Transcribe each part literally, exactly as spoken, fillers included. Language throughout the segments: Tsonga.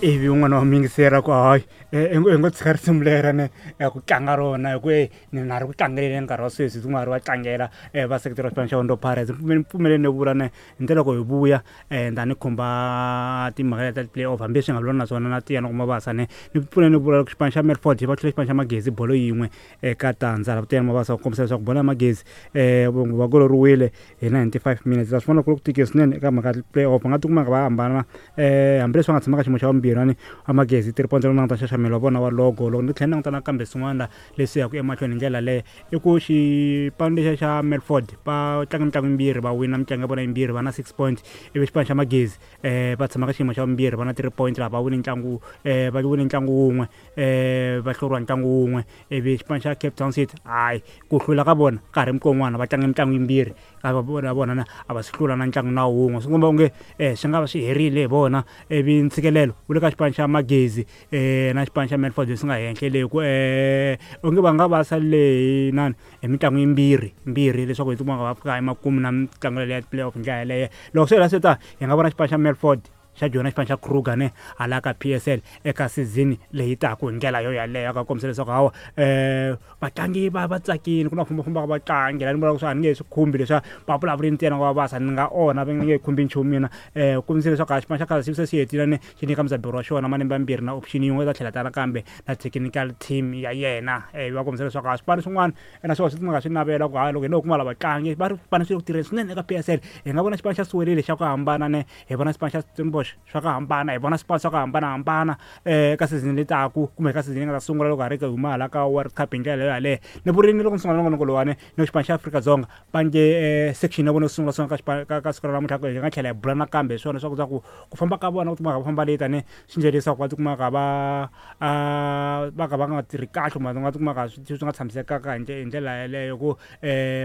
Ivi un'wana wa miyingiseri a ku hayi i ngo tshika risimu lera ne ku tlanga rona hi ku e ni na ri ku tlangeleni nkarhi wa sweswi ku nga ri va tlangela va seketela xipano xa Orlando Pirates. Pfumeleni ni vula ne hi ndlela loko hi vuya ni ta ni khumba timhaka ta ti-play off hambi swi nga vula na swona na tiya na kuma vasa ne ni pfune ni vula xipano xa Milford va hlule xipano xa Magezi bolo yin'we eka tandza la Tiyani Mabasa ku kombisa leswaku bolo ya Magezi um va goloriwile hi ninety-five minutes. Ta swi vona ku ri ku tikile swinene eka mhaka ya play off va nga tikuma va hambana um hambileswi va nga tshama ka xiyimo xa vumbirhi ni wa Magezi three points languta nxaxamelo wa vona wa logo. Loko ni tlhela ni languta nakambe swin'wana la leswi yaka emahlweni hi ndlela leyo i ku xipano lexiya xa Milford va tlanga mitlangu yimbirhi va wina mitlangu ya vona yimbirhi va na six points, ivi xipano xa Magezi um va tshama ka xiyimo xa vumbirhi va na three points laha va wine ntlangu um va wine ntlangu wun'we um va hluriwa ntlangu wun'we. Ivi xipano xa Cape Town City hayi ku hlula ka vona ka ha ri mikon'wana va tlanga mitlangu yimbirhi ka vona vona na a va swi hlula na ntlangu na wun'we, swi komba onge um swi nga va swi herile hi vona. Ivi ntshikelelo wu le ka xipano xa Magezi um na xipano xa Milford leswi nga henhla le ku um onge va nga va salele hi nani hi mitlangu yimbirhi mbirhi leswaku hi tikuma va fika emakumu na mitlangu yaleyo ya play off hi ndlela yaleyo. Loko swi hela swi ta hi nga vona xipano xa Milford xa joyina xipano xa Kruger ne hala ka P S L eka season leyi taka hi ndlela yo yaleyo ka kombisa leswaku hawa um vatlangi va va tsakile ku na fambafamba ka vatlangi la ni vulaka swa a ni nge swi khumbi leswiya va vulavuli ntsena va vasa ni nga onha va nge khumbi nchumu mina. Um kombisa leswaku a xipano xa Kaizer Chiefs se xi hetile ne xi nyika mudzaberi wa xona malembe mambirhi na option yin'we ta tlhela ta nakambe na technical team ya yena. Um va kombisa leswaku a swipano swin'wana naswona swi nga swi navela ku hayi loko hi no kuma lava vatlangi va ri swipano swi le ku tirheni swinene eka P S L. Hi nga vona xipano xa Siwelele xa ku hambana ne hi vona xipano xa Stellenbosch swa ku hambana, hi vona swipano swa ku hambanahambana eka season leyi taku kumbe ka season leyi nga ta sungula loko ha ri huma hala ka World Cup hi ndlela yaleyo. Ni vurile loko ni sungula nongonoko lowuwani ni xipano xa Afrika-Dzonga va nge section ya vona yo sungula sungula ka xipano ka ka siku ra namuntlha hi nga tlhela hi bula nakambe hi swona swa ku ku famba ka vona ku tikuma va famba late ne swi endle leswaku va tikuma va va ka va nga tirhi kahle kumbe va tikuma swi nga tshamisekanga hi ndlela yaleyo ku um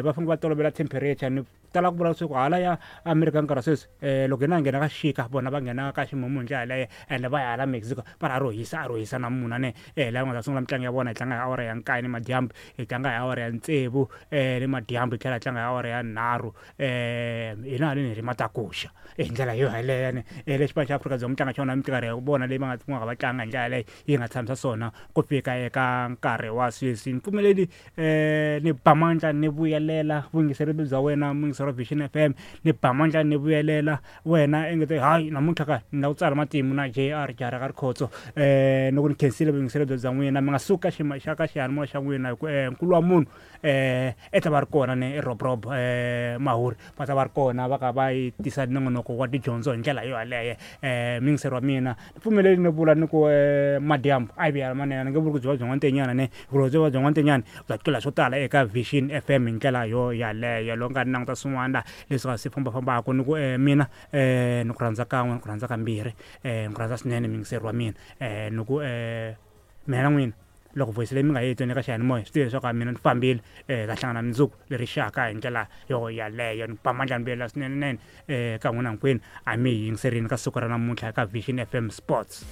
va fanele va tolovela temperature. Ni tala ku vula leswaku hala ya America nkarhi wa sweswi um loko hina hi nghena ka xixika vona va nghena ka ximumu hi ndlela yaleyo ende va ya hala Mexico va ri a ro hisa a ro hisa na munhu ne um laha va nga ta sungula mitlangu ya vona hi tlanga hi awara ya nkaye ni madyambu hi tlanga hi awara ya tsevu um ni madyambu hi tlhela hi tlanga hi awara ya nharhu um hina haleni hi ri matakuxa hi ndlela yo yaleyo ne. Le xipano xa Afrika-Dzonga mitlangu xona minkarhi ya vona leyi va nga kumaka va tlanga hi ndlela yaleyo yi nga tshamisa swona ku fika eka nkarhi wa sweswi. Ni pfumeleli um ni ba mandla ni vuyelela vuyingiseri bya wena muyingiseri wa Vision F M, ni ba mandla ni vuyelela wena engete hayi namuntlha ka ni la ku tsala matimu na J R Jara ka Rikhotso um loko ni khensile vuyingiseri bya n'wina mi nga suka xima xa ka xiyanimoya xa n'wina hi ku um nkulu wa munhu um i ta va ri kona ni Rob Rob um Mahuri va ta va ri kona va ka va yi tisa nongonoko wa tidyondzo hi ndlela yo yaleyo. Um muyingiseri wa mina ni pfumeleli ni vula ni ku um madyambu a yi vuya manene ni nge vuli ku byi va bya n'wantenyana ne hikuva byi va bya n'wantenyana bya tlula swo tala eka Vision F M hi ndlela yo yaleyo. Loko nga ni languta swin'wana leswi nga swi fambafambaka ni ku um mina um ni ku rhandza kan'we ni ku rhandza kambirhi um ni ku rhandza swinene muyingiseri wa mina um ni ku um mina na n'wina loko voice leyi mi nga yi tweni eka xiyanimoya swi tiva leswaku a mina ni fambile um ta hlangana mundzuku leri xaka hi ndlela yo yaleyo. Ni ba mandla ni vuyelela swinene nene um ka n'wina hinkwenu a mi hi yingiserini ka siku ra namuntlha eka Vision F M Sports.